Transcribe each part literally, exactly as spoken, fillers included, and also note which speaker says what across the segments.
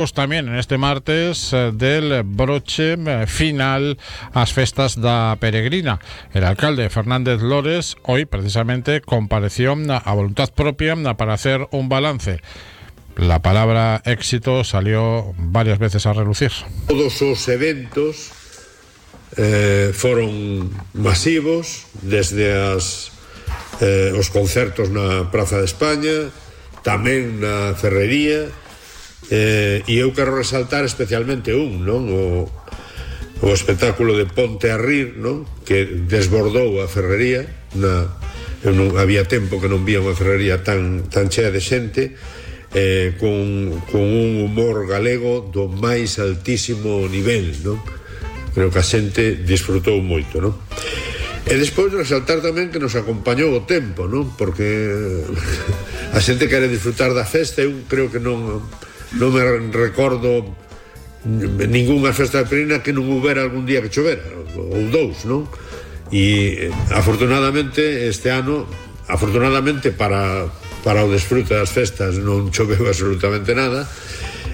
Speaker 1: Tamén en este martes eh, del broche eh, final ás festas da Peregrina. El alcalde Fernández Lores hoy precisamente compareció a voluntad propia para hacer un balance. La palabra éxito salió varias veces a relucir.
Speaker 2: Todos os eventos eh, foron masivos, desde as, eh, os concertos na Praza de España, tamén na Ferrería. Eh, e eu quero resaltar especialmente un, non? O, o espectáculo de Ponte a Rir, non? Que desbordou a Ferrería. Na, eu non había tempo que non vía unha Ferrería tan, tan chea de xente, eh, con, con un humor galego do máis altísimo nivel, non? Creo que a xente disfrutou moito, non? E despois resaltar tamén que nos acompañou o tempo, non? Porque a xente quere disfrutar da festa. Eu creo que non non me recordo ningunha festa de Peregrina que non houbera algún día que chovera, ou dous, non? E afortunadamente este ano, afortunadamente para, para o desfrute das festas, non choveu absolutamente nada,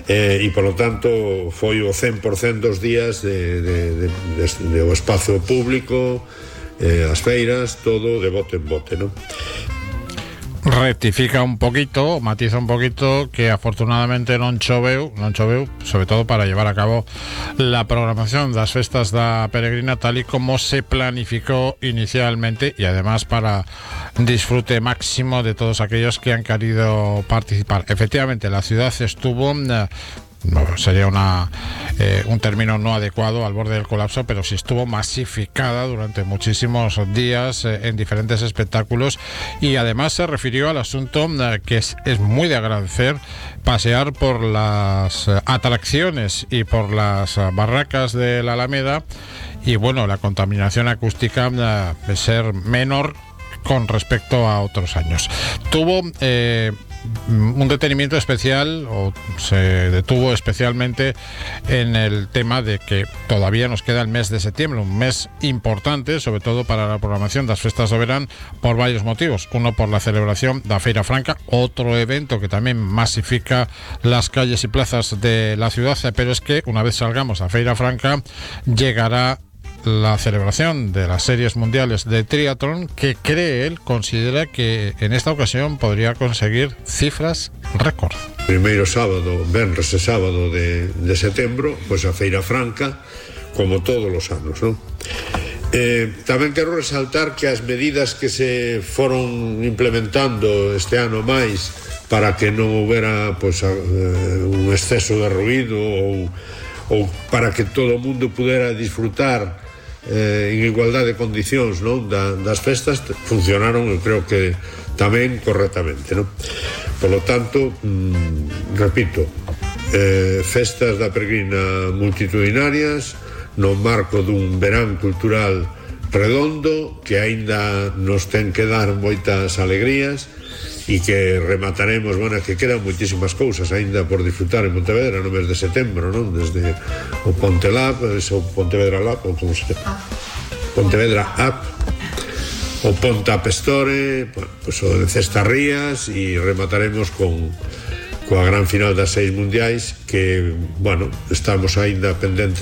Speaker 2: eh, e polo tanto foi o cen por cento dos días de, de, de, de, de o espazo público, eh, as feiras, todo de bote en bote, non?
Speaker 1: Rectifica un poquito, matiza un poquito que afortunadamente non choveu, non choveu, sobre todo para llevar a cabo la programación das festas da Peregrina tal y como se planificó inicialmente, y además para disfrute máximo de todos aquellos que han querido participar. Efectivamente, la ciudad estuvo eh, no, sería una eh, un término no adecuado, al borde del colapso, pero sí estuvo masificada durante muchísimos días eh, en diferentes espectáculos, y además se refirió al asunto eh, que es, es muy de agradecer, pasear por las eh, atracciones y por las eh, barracas de la Alameda, y bueno, la contaminación acústica eh, ser menor con respecto a otros años. Tuvo eh, un detenimiento especial, o se detuvo especialmente en el tema de que todavía nos queda el mes de septiembre, un mes importante, sobre todo para la programación das festas do verán, por varios motivos. Uno, por la celebración da Feira Franca, otro evento que también masifica las calles y plazas de la ciudad, pero es que una vez salgamos a Feira Franca llegará la celebración de las series mundiales de triatlón, que cree él, considera que en esta ocasión podría conseguir cifras récord.
Speaker 2: Primeiro sábado, venres e sábado de, de setembro, pois a Feira Franca, como todos os anos, non? Eh, tamén quero resaltar que as medidas que se foron implementando este ano máis para que non houbera pois, a, uh, un exceso de ruído, ou, ou para que todo o mundo pudera disfrutar Eh, en igualdade de condicións, non? Da, das festas, funcionaron, eu creo que tamén correctamente, non? Por lo tanto, mmm, repito, eh, festas da Peregrina multitudinarias no marco dun verán cultural redondo que aínda nos ten que dar moitas alegrías, e que remataremos, bueno, que quedan moitísimas cousas aínda por disfrutar en Pontevedra no mes de setembro, non? Desde o Ponte Lab, o Pontevedra Lab, ou como se chama, Pontevedra App, o Ponte App Store, pues, o de Cestarrías, e remataremos con coa gran final das seis mundiais, que, bueno, estamos aínda pendentes